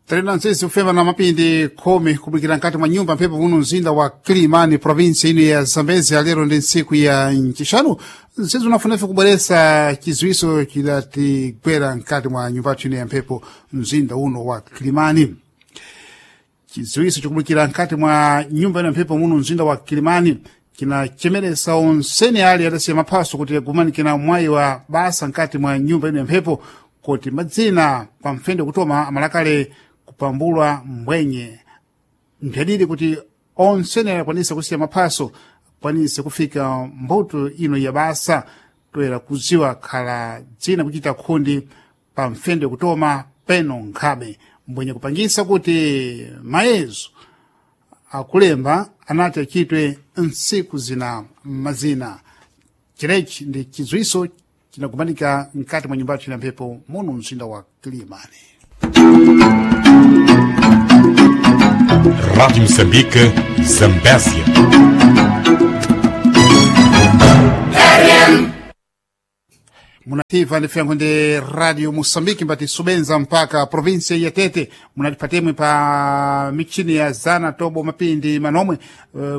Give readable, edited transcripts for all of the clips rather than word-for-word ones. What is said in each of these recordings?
Tena ntsisi kufema na mapindi 10 kubwikira nkati mwa nyumba mphepo muno mzinda wa Kilimani, provinsi ino ya Zambezi. Lero ndi ntsiku ya ncixanu, ntsizi unafunefe kubweresa chiziwiso chidatigwera nkati mwa nyumba ino ya mphepo mzinda uno wa Kilimani. Chiziwiso chikubwikira nkati mwa nyumba ino ya mphepo muno mzinda wa Kilimani kinachemeresa onsene ali adasiya maphaso kuti agumanikira mwayi wa basa nkati mwa nyumba ino ya mphepo, kuti madzina pamfende kutoma amalakale kupambulwa mbwenye mphadidi kuti onsene akwanise kusiya maphaso akwanise kufika mbuto ino ya basa, toyera kuziwa khala dzina kuchita khundi pamfende kutoma peno nkhabe mbwenye kupangisa kuti mayezo akulemba anati achitwe ntsiku zina mazina. Chirechi ndi chidziwiso chinakumanika mkati mwa nyumba ya mphepo muno mzinda wa Kilimani. Rádio Moçambique, Zambésia. Munativa ndifyango ndi Radio Moçambique mbati subenza mpaka provinsia ya Tete, munatipatemwe pa michini ya zana tobo mapindi manomwe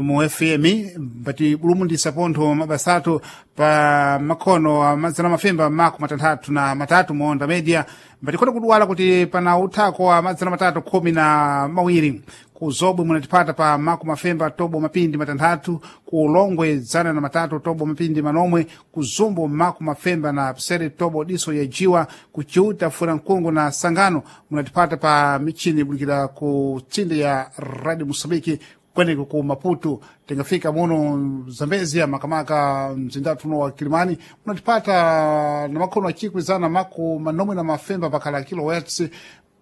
mu FM mbati bulumundisa pontho mabasatu pa makhono amazana mafemba mako 63 muonda media, mbati khona kudwala kuti pana uthako wa 312 ku Zobwe munatipata pa mako mafemba tobo mapindi 6, ku Ulongwe 103 tobo mapindi manomwe, ku Zumbo mako mafemba na psere tobo diso ya jiwa, ku Chiuta Furankungu na Sangano munatipata pa michini bulikira ku tsinde ya Radio Mosambiki kweneko ku Maputo. Tingafika muno Zambezia makamaka mzindatu uno wa Kilimani munatipata na makhono achikwi zana mako manomwe na mafemba pakhala kilohertz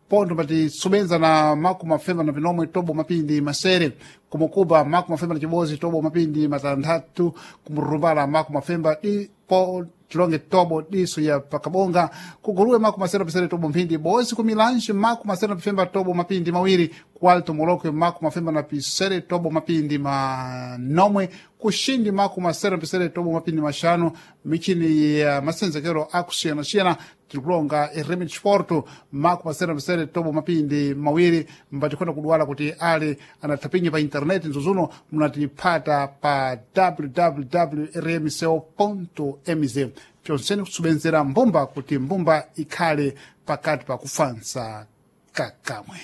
pontho pati subenza na mako mafemba na pinomwe tobo mapindi masere, kumukuba mako mafemba na chibozi tobo mapindi matanthatu, kumurumbala mako mafemba di po tilonge tobo diso ya pakabonga, kuguluwe mako masere pisere tobo mphindi bozi, kumilanji mako masere na pifemba tobo mapindi mawiri, ku Alto Molokwe mako mafemba na pisere tobo mapindi manomwe, kushindi mako masere na pisere tobo mapindi mashanu. Michini ya masenzekero akusiyana-siyana tirikulonga eremi chiporto mako masere na pisere tobo mapindi mawiri, mbatikhona kudwala kuti ali anathapinya pa intaneti nzuzuno munatipata pa www rmco mz. Pyonsene kusubenzera mbumba kuti mbumba ikhale pakati pa kufansa kakamwe.